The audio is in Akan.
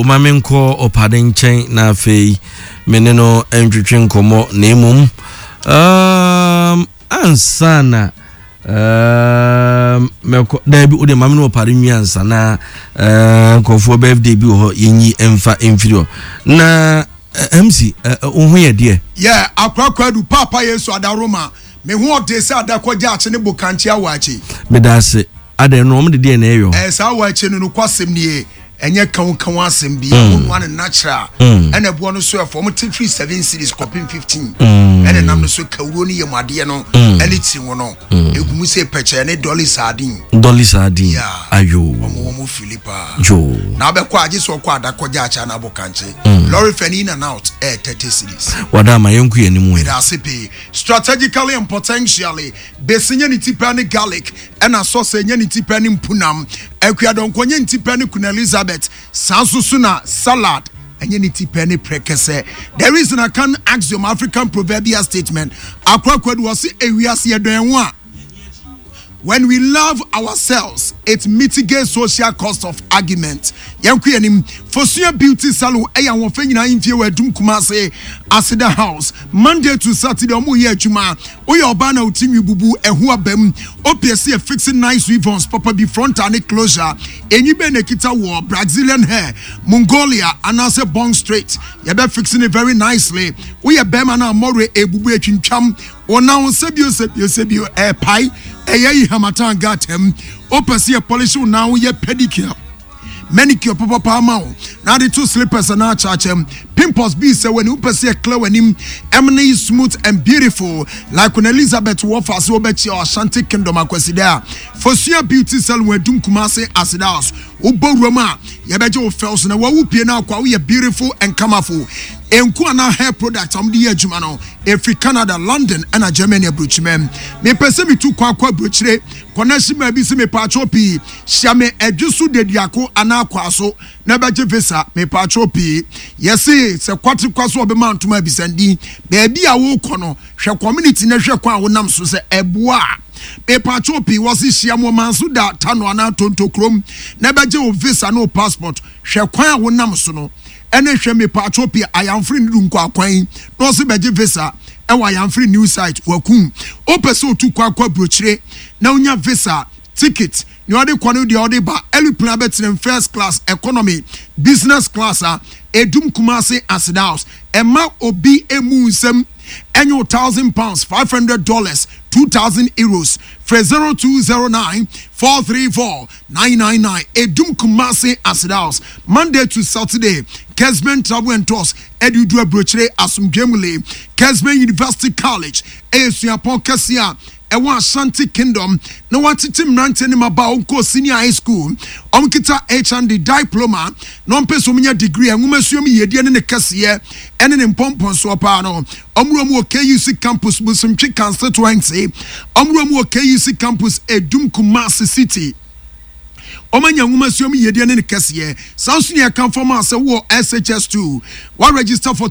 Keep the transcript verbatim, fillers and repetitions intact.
Ma menkɔ Ɔpade nkyɛn na afei me ne no ntwetwe nkɔmmɔ, na mmom um, ansa na um, mɛkɔ, daabi, wode ma me ne Ɔpade nwi ansa na uh, nkurɔfoɔ birthday bi wɔ hɔ, yɛnyi mfa mfiri hɔ. Na uh, M C, uh, wo ho yɛ deɛ? Yɛ akorakora du Papa Yesu adaroma, me ho ɔde sɛ adakɔgye akye ne bokankye awɔ akyi. Meda ase. Adɛn no, ɔmo de deɛ na ɛyɔ? Ɛɛ, saa awɔ akyi no, nokɔ asɛm nie, ɛnyɛ kan kan asɛm bi mm. Wɔn ano natural, ɛna ɛboɔ no so ɛfɔ. Wɔn te firi seven cedis kɔpem fifteen, ɛna nam no so kawuro ne yam adeɛ no ɛne tiri ho no egu mu sɛ pɛkyɛ ne Dolly sardine. Dolly sardine. Yeah. Ayo. wɔn wɔn fili paa. Jo. Na abɛkɔ agye sɛ ɔkɔ adakɔgye akyɛ na abɔ kankye lorry fare in and out ɛyɛ thirty cedis. Wada ama yɛnku yɛn anim yi. Meda ase pii. Strategically and potentially, besi nye ne ti pɛ ne garlic, ɛna sɔsɛ nye ne ti pɛ ne mpunam, akuadɔnkɔ nye ne ti pɛ ne Queen Elizabeth, saa nso so na salad ɛnyɛ ne ti pɛ ne prɛkɛsɛ. There is an Akan axiom, African proverbial statement, akorakoa de wɔsi ewiase yɛdɔn ho a, when we love ourselves, it mitigates social cost of argument. Yɛn kɔ yɛn Fosua Beauty Salon, ɛyɛ ahoɔfɛ nyinaa mfie wɔ Adum Kumase Aseda House. Monday to Saturday ɔmo yɛ adwuma. Woyɛ ɔbaa na oti nwi bubu ɛho abam, opie si yɛ fixing nice weave-ons papa bi, frontal ne closure. Enyi bɛn na ekita wɔ Brazilian hair, Mongolia anaasɛ bone straight, yɛbɛ fixing it very nicely. Woyɛ bɛrima na amɔre ebubu etwintwam ɔnan, sɛbio sɛbio sɛbio ɛɛpae, ɛyɛ yi harmattan gatam, wopɛ sɛ yɛ polish wo nan, woyɛ pedicure, manicure papapa ama wo na ade to slippers na akyaakyɛm, pimples bi sɛ w'ani, wopɛ sɛ yɛ clear w'anim ɛmne smooth and beautiful like Queen Elizabeth wɔfa se wobɛkyia Ashanti Kingdom Akwaside a, Fosua Beauty Salon, Adum Kumase Aseda House. Wobɔ wuram a, yɛbɛgye wo fɛw so na wawu pie no akɔ a, woyɛ beautiful and colorful. Nku anaa hair product a wɔde yɛ adwuma no ɛfiri Canada, London ɛna Germany aburokyimɛ. Mepɛ sɛ metu kɔ akɔ aburokyire connection maa bi sɛ mepaakyɛw pii, hyia me Ɛdwe so Deduako anaa Kwaso na bɛgye visa. Mepaakyɛw pii, yɛse sɛ kwate kwa so ɔbɛma ntoma abisandin baabi a wokɔ no, hwɛ community na hwɛ kwan a wonam so sɛ ɛboa a. Mepaakyɛw pii, wɔse hyia mo ɔman so da Tano anaa Tonto kurom na bɛgye wo visa ne wo passport. Hwɛ kwan a wonam so no ɛne hwɛ. Mepaakyɛw pii, Ayamfiri ne du nkɔ akwan na ɔse bɛgye visa ɛwɔ Ayamfiri new site. Wakum wopɛ sɛ otu kɔ akɔ aburokyire na wonya visa, ticket nea ɔde kɔ no deɛ ɔde ba, aeroplane abɛtena first class, economy, business class a, Edum Kumase Aseda House. Ɛma obi emu nsɛm ɛnyɛ o thousand pounds, five hundred dollars, two thousand euros. Frɛ zero two zero nine four three four nine nine nine, Edum Kumase Aseda House, Monday to Saturday. Kesben Travel and Tours ɛde du aburokyire asomdwemule. Kesben University College ɛyɛ suapɔn kɛseɛ a ɛwɔ Ashanti Kingdom na watete mmeranteɛ ne mmabaa ɔnkɔ senior high school, ɔmkita H N D diploma na ɔmpɛ sɛ ɔmnya degree. Nwoma mu yiedie ne ne kɛseɛ ɛne ne mpɔmpɔnsoɔ paa no, ɔmwura mu wɔ K U C campus, Bosomtwe constituency. Ɔmwura mu wɔ K U C campus, Edum Kumasi city. Ɔmanya nwoma sua mu yiedie ne ne kɛseɛ. Saa nso ne yɛka fam a sɛ wowɔ S H S two wa register for